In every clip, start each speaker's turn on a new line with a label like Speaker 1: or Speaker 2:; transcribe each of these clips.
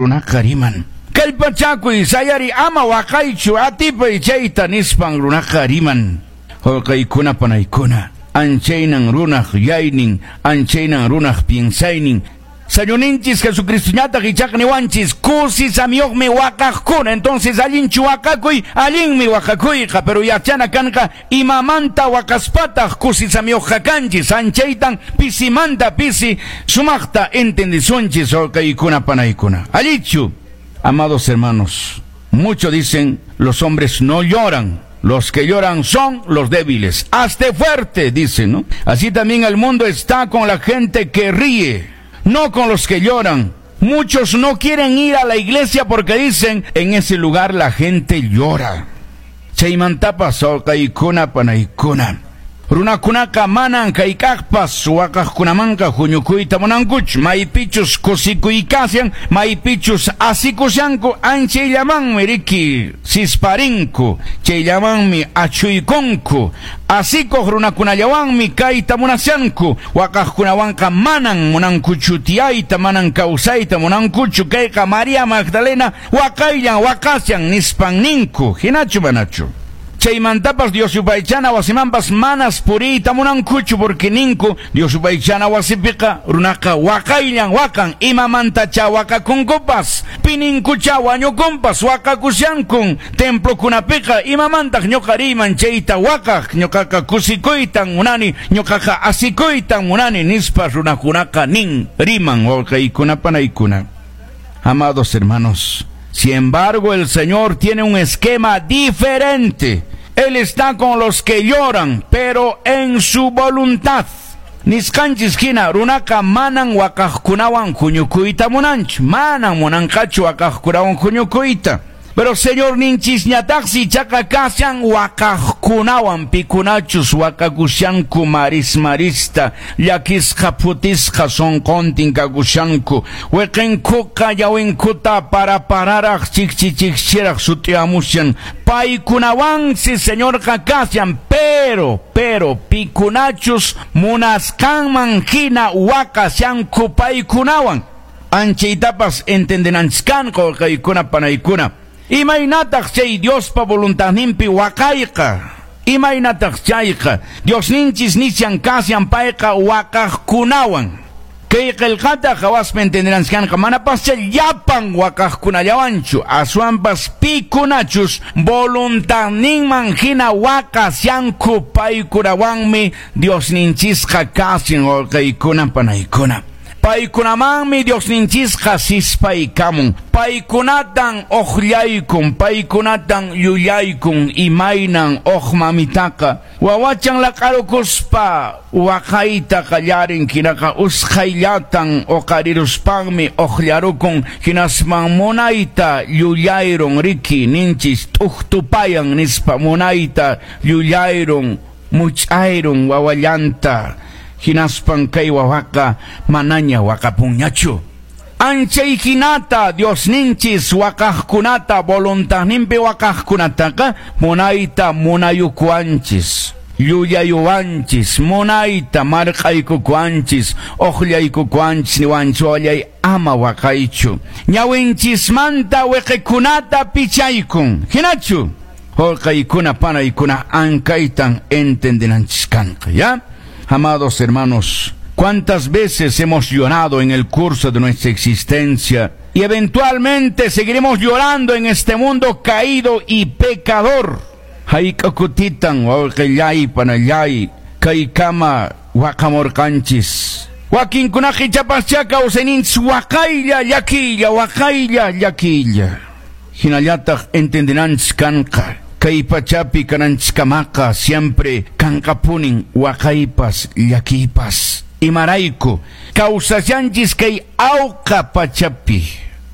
Speaker 1: Runaqa riman. Kallpachakuy, sayari, ama waqaychu, atipay chayta nispan runaqa riman. Wawqiykuna panaykuna, anchaynan runaq yuyaynin, anchaynan runaq piensaynin. Señorninchis Jesucristoñataq ichaqa niwanchis, kusisamiyuqmi waqaqkuna. Entonces allinchu waqakuy, allinmi waqakuyqa, pero yachana kanqa imamanta waqaspataq kusisamiyuqqa kanchis. Anchaytan pisimanta pisi sumaqta entendisunchis, wawqiykuna panaykuna. Allichu, amados hermanos, muchos dicen los hombres no lloran. Los que lloran son los débiles. Hazte fuerte, dicen, ¿no? Así también el mundo está con la gente que ríe, no con los que lloran. Muchos no quieren ir a la iglesia porque dicen, en ese lugar la gente llora. Chaymantapas wawqiykuna panaykuna. Runakunaqa manan hayk'aqpas waqaqkunamanqa huñukuyta munankuchu. Maypichus kusikuykashan, maypichus asikushanku, anchayllamanmi riki sisparinku, chayllamanmi achuykunku. Asikuq runakunallawanmi kayta munashanku. Waqaqkunawanqa manan munankuchu tiyayta, manan kawsayta munankuchu. Kayqa María Magdalena waqayllan waqashan nispan ninku. Hinachu manachu? Chaymantapas Dios yupaychana wasimanpas manas puriyta munankuchu porque ninku Dios yupaychana wasipiqa runaqa waqayllan waqan, imamantacha waqakunkupas, pininkucha wañukunpas waqakushankun templokunapiqa, imamantaq ñuqa riyman chayta waqaq, ñuqaqa kusikuytan munani, ñuqaqa asikuytan munani nispa runakunaqa nin riman wawqiykuna panaykuna. Amados hermanos, sin embargo, el Señor tiene un esquema diferente. Él está con los que lloran, pero en su voluntad. Nisqanchis hina runaqa manan waqaqkunawan huñukuyta munanchu, manan munanqachu waqaqkunawan huñukuyta. Pero Señorninchisñataqsi ichaqa kashan waqaqkunawan, pikunachus waqakushanku maris marista, llakisqa phutisqa sunquntin kakushanku, wiqinkuqa ñawinkuta para pararaq chikchi chikchiraq sut'iyamushan, paykunawansi Señorqa kashan, pero pikunachus munasqanman hina waqashanku paykunawan. Anchaytapas entendenanchis kanqa wawqiykuna panaykuna. Imaynataq chay Diospa voluntadninpi waqayqa? Imaynataq chayqa? Diosninchis nishan kashan payqa waqaqkunawan. Kay qillqata qhawaspa entendenanchis kanqa, manapascha llapan waqaqkunallawanchu, aswanpas pikunachus voluntadninman hina waqashanku paykunawanmi Diosninchisqa kashan wawqiykuna panaykuna. Paykunamanmi Diosninchisqa sispaykamun, paykunatan uqllaykun, paykunatan llullaykun, imaynan uq mamitaqa wawachan laq'arukuspa waqayta qallarin, hinaqa usqhayllatan uqariruspanmi uqllarukun, hinasman munayta llullayrun riki ninchis t'uktupayan nispa munayta llullayrun much'ayrun wawallanta. Hinaspan kay wawaqa manaña waqapunñachu. Anchay hinata Diosninchis waqaqkunata voluntadninpi waqaqkunataqa munayta munayukuwanchis, llullayuwanchis, munayta marq'aykukuwanchis, uqllaykukuwanchis, niwanchis wallay ama waqaychu. Ñawinchismanta wiqikunata pichaykun. Hinachu? Wawqiykuna panaykuna ankaytan entendenanchis kanqa, ¿ya? Amados hermanos, ¿cuántas veces hemos llorado en el curso de nuestra existencia? Y eventualmente seguiremos llorando en este mundo caído y pecador. Hayk'a kutitan wawqillay panallay kaykama waqamurqanchis. Wakinkunaqa ichapaschá kawsayninchis waqaylla llakiylla, waqaylla llakiylla. Hinallataq entendenanchis kanqa. Kay pachapi kananchiskamaqa siempre kanqapunin waqaypas llakiypas. Imarayku kawsashanchis kay awqa pachapi,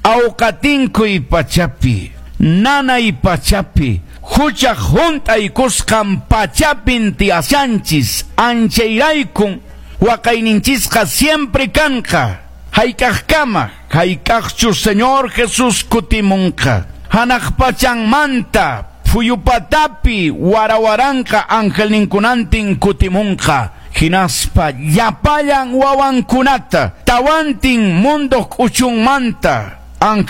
Speaker 1: awqatinkuy pachapi, nanay pachapi, huchaq hunt'aykusqan pachapin tiyashanchis. Anchayraykun waqayninchisqa siempre kanqa. Hayk'aqkama, hayk'aqchu Señor Jesús kutimunqa. Hanaq pachanmanta phuyupatapi warawaranqa angelninkunantin kutimunqa. Hinaspa llapallan wawankunata tawantin munduq k'uchunmanta Ángel.